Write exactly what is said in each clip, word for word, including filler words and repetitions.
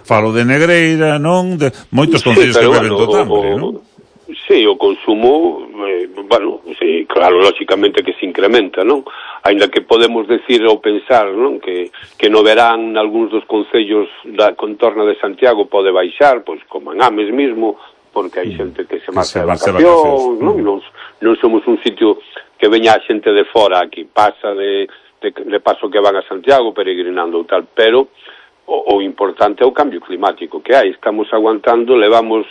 falo de Negreira, non? De moitos concellos sí, que beben bueno, do Tambre, non? Sí, o consumo, eh, bueno, sí, claro, lógicamente que se incrementa, non? Ainda que podemos decir ou pensar, non? Que, que no verán algúns dos concellos da contorna de Santiago pode baixar, pois como en Ames mismo, porque hai xente que se marcha de vacacións, non? Non, non somos un sitio que veña a xente de fora aquí, pasa de, de, de paso que van a Santiago peregrinando ou tal, pero o, o importante é o cambio climático que hai, estamos aguantando, levamos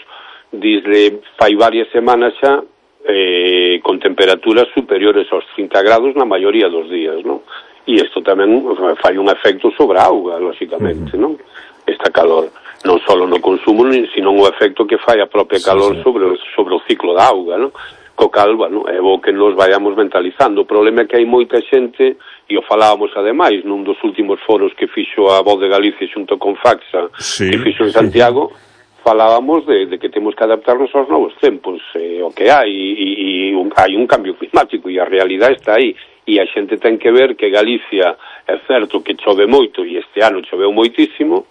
desde fai varias semanas xa eh, con temperaturas superiores aos trinta grados na maioría dos días, non? E isto tamén fai un efecto sobre a auga, lógicamente, non? Esta calor, non só no consumo, sino o efecto que fai a propia calor sí, sí. sobre, sobre o ciclo da auga, non? Co cal, bueno, é bo que nos vayamos mentalizando. O problema é que hai moita xente, e o falábamos ademais nun dos últimos foros que fixo a Voz de Galicia xunto con Faxa, sí, que fixo en Santiago, sí. falábamos de, de que temos que adaptarnos aos novos tempos, eh, o que hai, e, e un, hai un cambio climático, e a realidade está aí, e a xente ten que ver que Galicia é certo que chove moito, e este ano choveu moitísimo,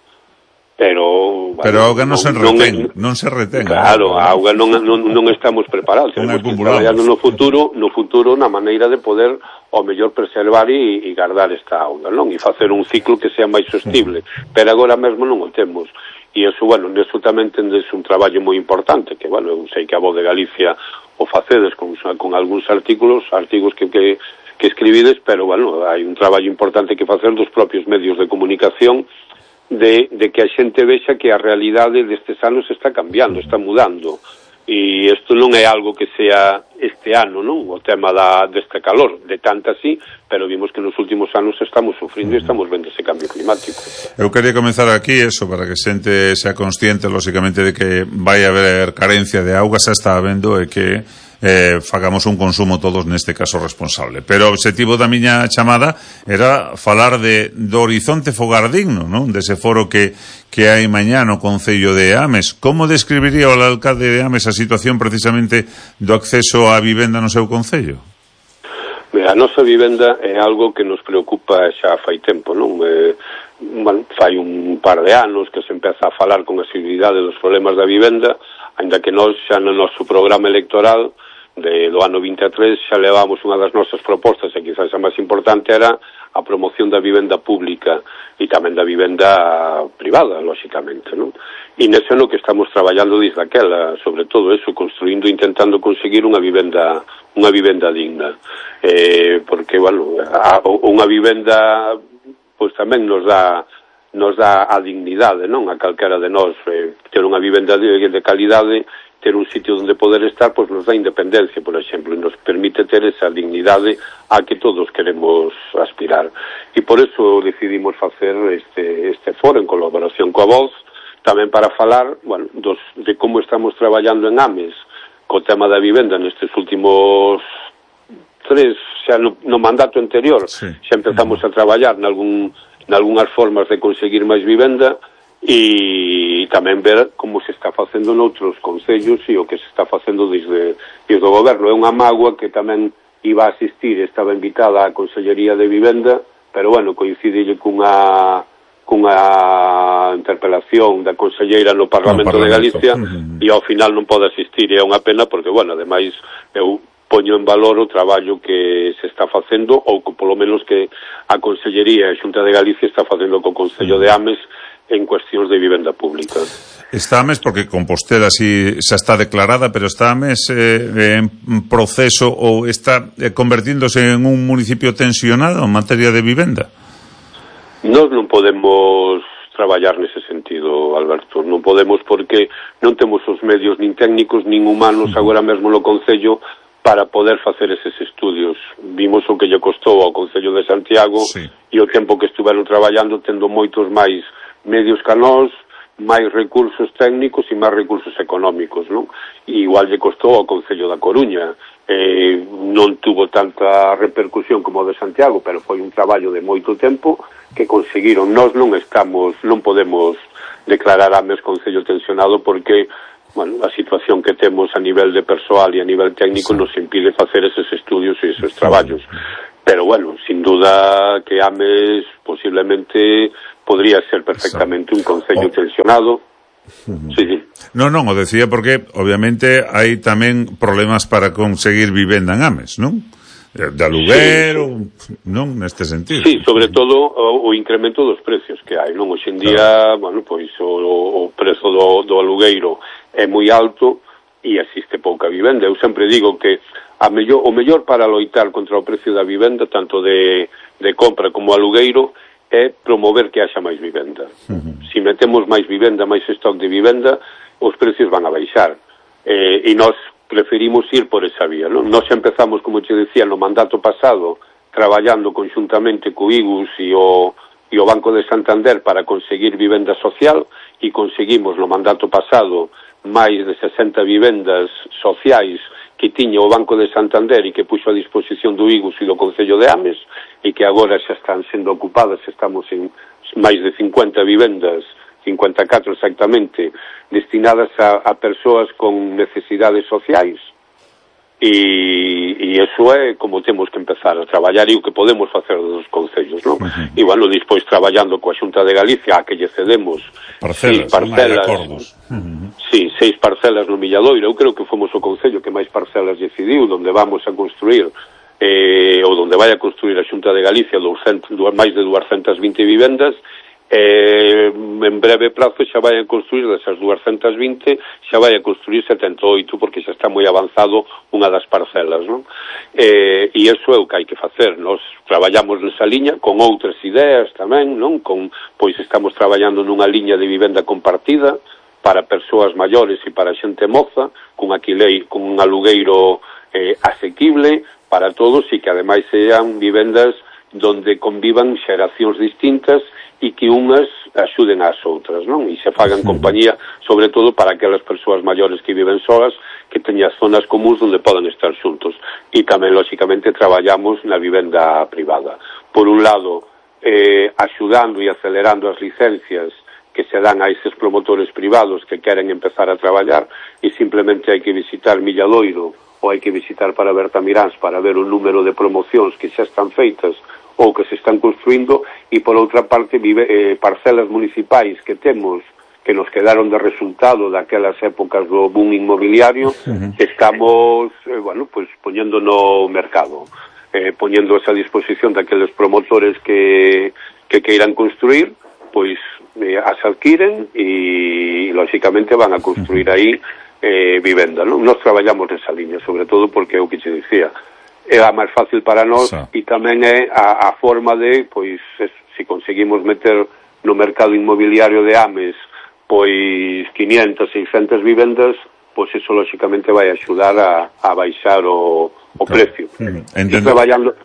pero... Bueno, pero a auga non se retén, non, non se retén. Claro, a auga non, non, non estamos preparados, temos que traballando no futuro, no futuro na maneira de poder ao mellor preservar e, e guardar esta auga, non? E facer un ciclo que sea máis sostible, pero agora mesmo non o temos. E iso, bueno, neso tamén tendes un traballo moi importante, que, bueno, eu sei que a Voz de Galicia o facedes con, con algúns artículos, artigos que, que, que escribides, pero, bueno, hai un traballo importante que facer dos propios medios de comunicación de, de que a xente vexa que a realidade destes anos está cambiando, está mudando. E isto non é algo que sea este ano, non? O tema da, deste calor, de tanta así, pero vimos que nos últimos anos estamos sufrindo e estamos vendo ese cambio climático. Eu quería comenzar aquí eso, para que a xente sea consciente, lógicamente, de que vai haber carencia de auga, xa está habendo, e que eh, fagamos un consumo todos neste caso responsable. Pero o objetivo da miña chamada era falar de, do horizonte fogar digno, non? Dese foro que, que hai mañá no Concello de Ames. Como describiría o alcalde de Ames a situación precisamente do acceso á vivenda no seu concello? A nosa vivenda é algo que nos preocupa xa fai tempo, non? Eh, bueno, fai un par de anos que se empeza a falar con asiduidade dos problemas da vivenda, ainda que nós xa no noso programa electoral de, do ano vinte e tres xa levamos unha das nosas propostas, e quizás a máis importante era a promoción da vivenda pública e tamén da vivenda privada, lógicamente, non? E nese ano que estamos traballando desde aquela, sobre todo eso, construindo, intentando conseguir unha vivenda unha vivenda digna, eh, porque, bueno, a, unha vivenda pois tamén nos dá nos dá a dignidade, non? A calquera de nós, eh, ter unha vivenda de, de calidade, ter un sitio onde poder estar, pois nos dá independencia, por exemplo, e nos permite ter esa dignidade a que todos queremos aspirar. E por eso decidimos facer este, este foro en colaboración coa Voz, tamén para falar, bueno, dos, de como estamos traballando en Ames co tema da vivenda nestes últimos tres, xa no, no mandato anterior, sí. Xa empezamos a traballar nalgún, nalgúnas formas de conseguir máis vivenda, e tamén ver como se está facendo noutros concellos e o que se está facendo desde, desde o goberno. É unha mágoa que tamén iba a asistir, estaba invitada á Consellería de Vivenda, pero, bueno, coincide cunha cunha interpelación da conselleira no Parlamento, no Parlamento de Galicia, uh-huh. E ao final non pode asistir, e é unha pena porque, bueno, ademais eu poño en valor o traballo que se está facendo, ou que polo menos que a Consellería e a Xunta de Galicia está facendo co Concello de Ames en cuestións de vivenda pública. Está Ames porque Compostela si xa está declarada, pero está Ames eh, en proceso ou está eh, convertíndose en un municipio tensionado en materia de vivenda? Nós non podemos traballar nese sentido, Alberto, non podemos porque non temos os medios nin técnicos nin humanos agora mesmo no Concello para poder facer eses estudios. Vimos o que lle costou ao Concello de Santiago, sí. E o tempo que estuveron traballando tendo moitos máis medios que nós, máis recursos técnicos e máis recursos económicos, non? E igual lle costou ao Concello da Coruña. Eh, non tuvo tanta repercusión como o de Santiago, pero foi un traballo de moito tempo que conseguiron. Nós non estamos, non podemos declarar Ames concello tensionado porque bueno, a situación que temos a nivel de persoal e a nivel técnico nos impide facer eses estudios e eses traballos. Pero, bueno, sin duda que Ames posiblemente podría ser perfectamente un concello tensionado. Sí, sí. Non, non, o decía porque, obviamente, hai tamén problemas para conseguir vivenda en Ames, non? De aluguero, sí, non, neste sentido. Sí, sobre todo o, o incremento dos precios que hai, non? Hoxe en día, claro, bueno, pois o, o prezo do, do alugueiro é moi alto e existe pouca vivenda. Eu sempre digo que a mellor, o mellor para loitar contra o precio da vivenda, tanto de, de compra como alugueiro, é promover que haxa máis vivenda. Uh-huh. Se metemos máis vivenda, máis stock de vivenda, os precios van a baixar. Eh, e nós preferimos ir por esa vía, non? Nós empezamos, como te decía, no mandato pasado, traballando conjuntamente co I G U S e o, e o Banco de Santander para conseguir vivenda social, e conseguimos no mandato pasado máis de sesenta vivendas sociais que tiña o Banco de Santander e que puxo a disposición do I G U S e do Concello de Ames, e que agora xa están sendo ocupadas, estamos en máis de cincuenta vivendas, cincuenta e catro exactamente, destinadas a, a persoas con necesidades sociais, e, e eso é como temos que empezar a traballar e o que podemos facer dos concellos, non? Uh-huh. E, bueno, despois traballando coa Xunta de Galicia, a que lle cedemos parcelas, seis parcelas, uh-huh. sí, seis parcelas no Milladoiro. Eu creo que fomos o concello que máis parcelas decidiu, onde vamos a construir eh, ou onde vai a construir a Xunta de Galicia doscientos, máis de duascentas vinte vivendas. Eh, en breve prazo xa vai a construir desas duascentas vinte, xa vai a construir setenta e oito, porque xa está moi avanzado unha das parcelas, non? Eh, e iso é o que hai que facer. Nos traballamos nesa liña con outras ideas tamén, non? Con, pois estamos traballando nunha liña de vivenda compartida para persoas maiores e para xente moza, con aquilei, con un alugueiro eh, asequible para todos, e que ademais sean vivendas donde convivan xeracións distintas e que unhas axuden ás outras, non? E se fagan compañía, sobre todo para aquelas persoas maiores que viven solas, que teñan zonas comuns onde podan estar xuntos. E tamén, lóxicamente, traballamos na vivenda privada. Por un lado, eh, axudando e acelerando as licencias que se dan a eses promotores privados que queren empezar a traballar, e simplemente hai que visitar Milladoiro ou hai que visitar para Bertamiráns para ver o número de promocións que xa están feitas ou que se están construindo, e por outra parte vive, eh, parcelas municipais que temos que nos quedaron de resultado daquelas épocas do boom inmobiliario, uh-huh. que estamos eh, bueno, pues, poñendo no mercado, eh, poñendo esa disposición daqueles promotores que, que queiran construir, pois eh, as adquiren e, lóxicamente, van a construir aí eh, vivenda, non? Nos traballamos nesa liña, sobre todo porque é o que te dicía, é a máis fácil para nós, e tamén é a, a forma de, pois, es, se conseguimos meter no mercado inmobiliario de Ames, pois, quinientas, seiscentas vivendas, pois eso, lóxicamente, vai axudar a, a baixar o, o claro. precio. Mm, e traballando...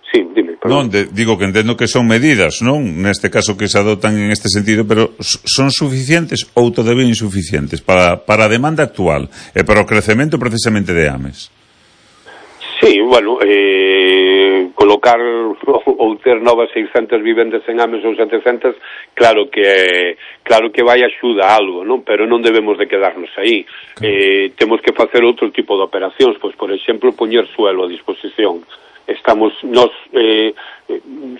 Sí, dime, Non, perdón. de, digo que entendo que son medidas, non? Neste caso que se adoptan en este sentido, pero son suficientes ou todavía insuficientes para, para a demanda actual e para o crecemento precisamente de Ames? Sí, bueno, eh, colocar ou ter novas seiscentas vivendas en Ames ou setecentas, claro que claro que vai axuda a algo, non? Pero non debemos de quedarnos aí. Claro. Eh, temos que facer outro tipo de operacións, pois, por exemplo, poñer suelo a disposición. Estamos, nos, eh,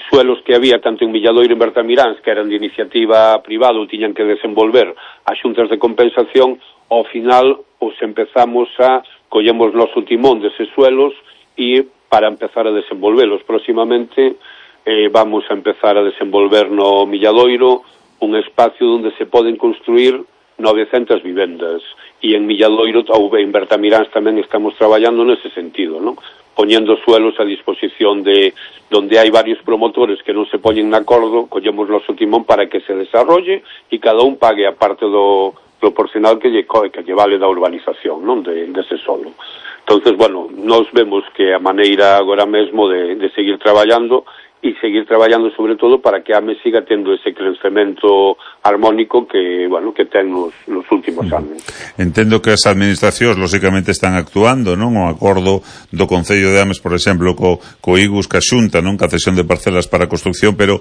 suelos que había tanto en Milladoiro e en Bertamiráns, que eran de iniciativa privada ou tiñan que desenvolver as xuntas de compensación, ao final os empezamos a collemos noso timón deses suelos e para empezar a desenvolvelos. Próximamente eh, vamos a empezar a desenvolver no Milladoiro un espacio onde se poden construir novecentas vivendas, e en Milladoiro ou en Bertamiráns tamén estamos traballando nese sentido, non? Poñendo suelos a disposición de donde hai varios promotores que non se poñen de acordo, collemos noso timón para que se desarrolle e cada un pague a parte do proporcional que lle, que lle vale da urbanización, non? De, dese solo. Entonces, bueno, nos vemos que a maneira agora mesmo de, de seguir traballando e seguir traballando sobre todo para que a Ames siga tendo ese crecemento armónico que, bueno, que ten nos, nos últimos anos. Entendo que as administracións lógicamente están actuando, non? O acordo do Concello de Ames, por exemplo, co, co I G U S, ca Xunta, non? Ca cesión de parcelas para a construcción, pero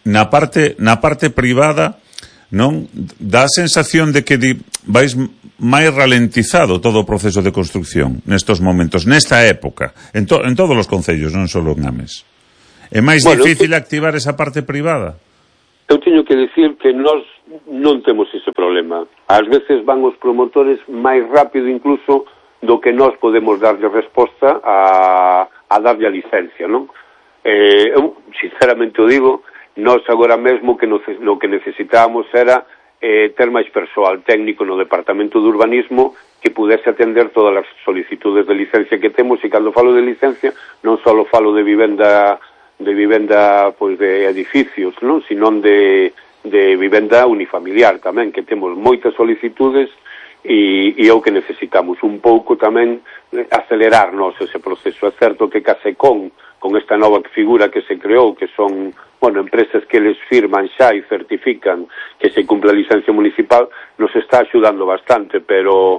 na parte na parte privada, non? Dá a sensación de que di, vais máis ralentizado todo o proceso de construcción nestos momentos, nesta época, en, to, en todos os concellos, non só en Ames? É máis bueno, difícil que... activar esa parte privada? Eu teño que decir que nós non temos ese problema. Ás veces van os promotores máis rápido incluso do que nós podemos darlle resposta a, a darlle a licencia, non? Eh, eu, sinceramente o digo, nós agora mesmo que no, no que necesitábamos era eh, ter máis persoal técnico no Departamento de Urbanismo que pudese atender todas as solicitudes de licencia que temos, e cando falo de licencia non só falo de vivenda de vivenda pois de edificios, non, sino de, de vivenda unifamiliar tamén, que temos moitas solicitudes e, e é o que necesitamos un pouco tamén acelerarnos ese proceso. É certo que Casecón, con esta nova figura que se creou, que son, bueno, empresas que les firman xa e certifican que se cumpla a licencia municipal, nos está axudando bastante, pero,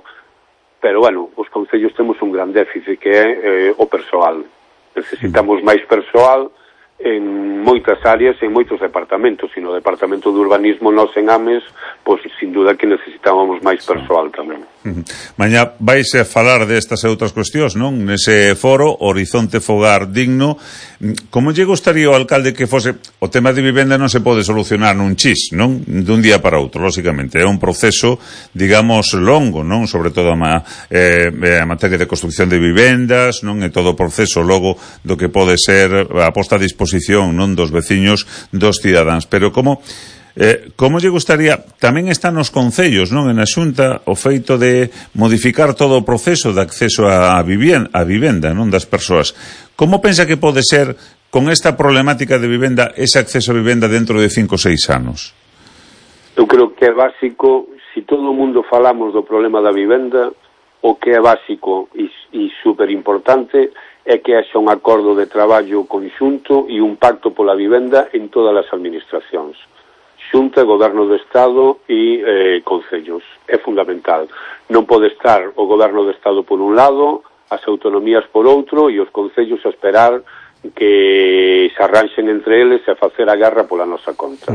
pero bueno, os concellos temos un gran déficit que é eh, o persoal. Necesitamos máis persoal en moitas áreas, en moitos departamentos, e no Departamento de Urbanismo nós en Ames, pois sin duda que necesitábamos máis persoal tamén. Uh-huh. Mañá vais a falar destas e outras cuestións, non? Nese foro, Horizonte Fogar Digno. Como lle gustaría ao alcalde que fose... O tema de vivenda non se pode solucionar nun chis, non? Dun día para outro, lógicamente. É un proceso, digamos, longo, non? Sobre todo a, eh, a materia de construcción de vivendas, non? E todo o proceso logo do que pode ser a posta a disposición, non? Dos veciños, dos cidadáns. Pero como... Eh, como lle gustaría, tamén está nos concellos, non, en a Xunta, o feito de modificar todo o proceso de acceso a vivenda, a vivenda, non, das persoas. Como pensa que pode ser, con esta problemática de vivenda, ese acceso a vivenda dentro de cinco ou seis anos? Eu creo que é básico, se todo o mundo falamos do problema da vivenda, o que é básico e, e superimportante é que haxa un acordo de traballo conxunto e un pacto pola vivenda en todas as administracións. Xunta, Goberno do Estado e eh, concellos. É fundamental. Non pode estar o Goberno do Estado por un lado, as autonomías por outro e os concellos a esperar que se arranxen entre eles e a facer a guerra pola nosa conta.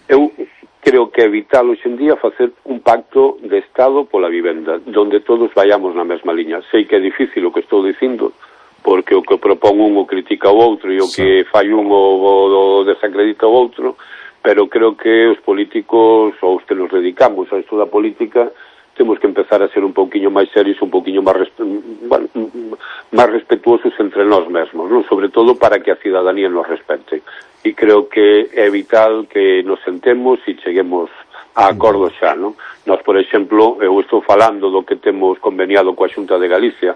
Eu creo que é vital hoxe en día facer un pacto de Estado pola vivenda, donde todos vayamos na mesma liña. Sei que é difícil o que estou dicindo, porque o que propón un o critica o outro e o que fai un o, o desacredita o outro, pero creo que os políticos, ou os que nos dedicamos a isto da política, temos que empezar a ser un pouquiño máis serios, un pouquiño máis, respe... bueno, máis respetuosos entre nós mesmos, non? Sobre todo para que a cidadanía nos respete. E creo que é vital que nos sentemos e cheguemos a acordo xa, non? Nós, por exemplo, eu estou falando do que temos conveniado coa Xunta de Galicia,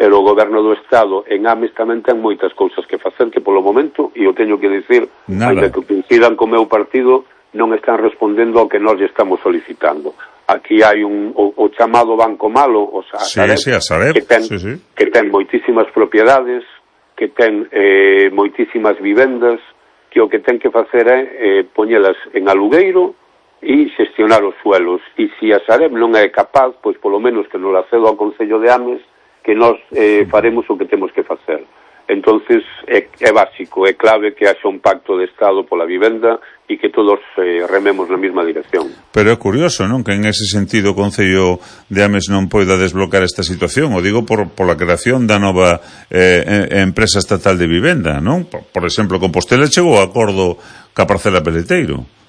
pero o Goberno do Estado en Ames tamén ten moitas cousas que facer que polo momento, e eu teño que dicir, ainda que coincidan co meu partido, non están respondendo ao que nós lle estamos solicitando. Aquí hai un, o, o chamado Banco Malo, o sea, sí, Sareb, sí, a Sareb, que, ten, sí, sí. que ten moitísimas propiedades, que ten eh, moitísimas vivendas, que o que ten que facer é eh, poñelas en alugueiro e xestionar os suelos. E se a Sareb non é capaz, pois polo menos que nos la cedo ao Concello de Ames, que nós eh, faremos o que temos que facer. Entonces é, é básico, é clave que haxa un pacto de Estado pola vivenda e que todos eh, rememos na mesma dirección. Pero é curioso, non, que en ese sentido o Concello de Ames non poida desbloquear esta situación, o digo por, por la creación da nova eh, empresa estatal de vivenda, non? Por, por exemplo, Compostela chegou a acordo ca parcela Peleteiro.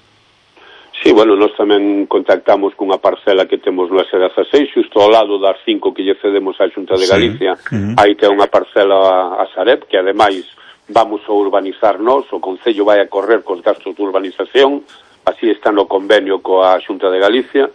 Sí, bueno, nós tamén contactamos cunha parcela que temos no S dezasseis, xusto ao lado das cinco que lle cedemos á Xunta de Galicia. Sí. Uh-huh. Aí ten unha parcela a Sareb, que ademais vamos a urbanizar nós, o Concello vai a correr cos gastos de urbanización, así está no convenio coa Xunta de Galicia,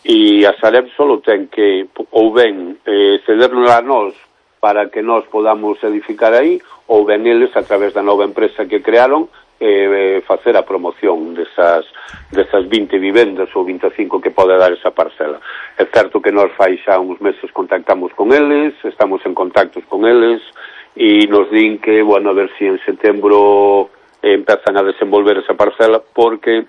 e a Sareb solo ten que, ou ben, eh, cedernos a nós para que nós podamos edificar aí, ou ben eles, a través da nova empresa que crearon, eh, facer a promoción desas, desas vinte vivendas ou vinte e cinco que pode dar esa parcela. É certo que nós fai xa uns meses contactamos con eles, estamos en contactos con eles e nos din que, bueno, a ver se si en setembro eh, empezan a desenvolver esa parcela, porque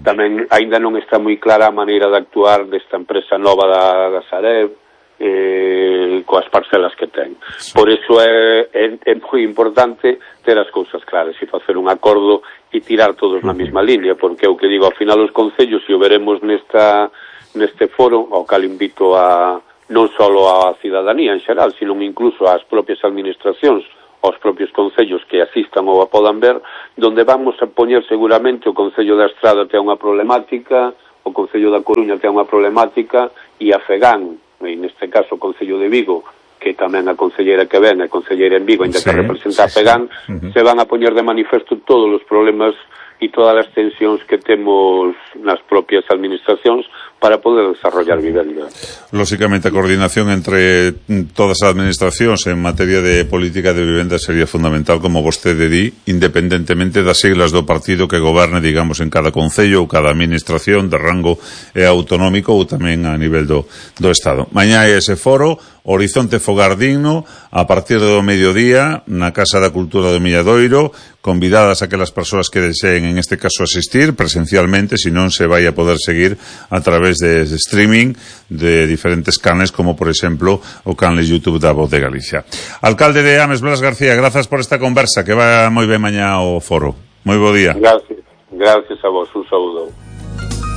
tamén aínda non está moi clara a maneira de actuar desta empresa nova da, da Sareb, eh, coas parcelas que ten. Por iso é, é, é moi importante ter as cousas claras e facer un acordo e tirar todos na mesma línea, porque é o que digo, ao final os concellos, se o veremos nesta neste foro, ao cal invito a non só a cidadanía en xeral, sino incluso ás propias administracións, aos propios concellos que asistan ou a podan ver, donde vamos a poñer seguramente o Concello da Estrada ten unha problemática, o Concello da Coruña ten unha problemática, e a FEGAN, e neste caso o Concello de Vigo, que tamén a concelleira que ven, a concelleira en Vigo, ainda sí, que representa a FEGAN, sí, sí. Uh-huh. Se van a poñer de manifesto todos os problemas e todas as tensións que temos nas propias administracións para poder desarrollar vivenda. Lóxicamente, a coordinación entre todas as administracións en materia de política de vivenda sería fundamental, como vostede di, independentemente das siglas do partido que goberne, digamos, en cada concello ou cada administración de rango eh, autonómico ou tamén a nivel do, do Estado. Mañá é ese foro, Horizonte Fogar Digno, a partir do mediodía, na Casa da Cultura do Milladoiro, convidadas aquelas persoas que deseen, en este caso, asistir presencialmente, si non se vai a poder seguir a través de streaming de diferentes canales, como por exemplo o canal YouTube da Voz de Galicia. Alcalde de Ames, Blas García, grazas por esta conversa, que va moi ben mañá ao foro. Moi bo día. Gracias, gracias a vos, un saúdo.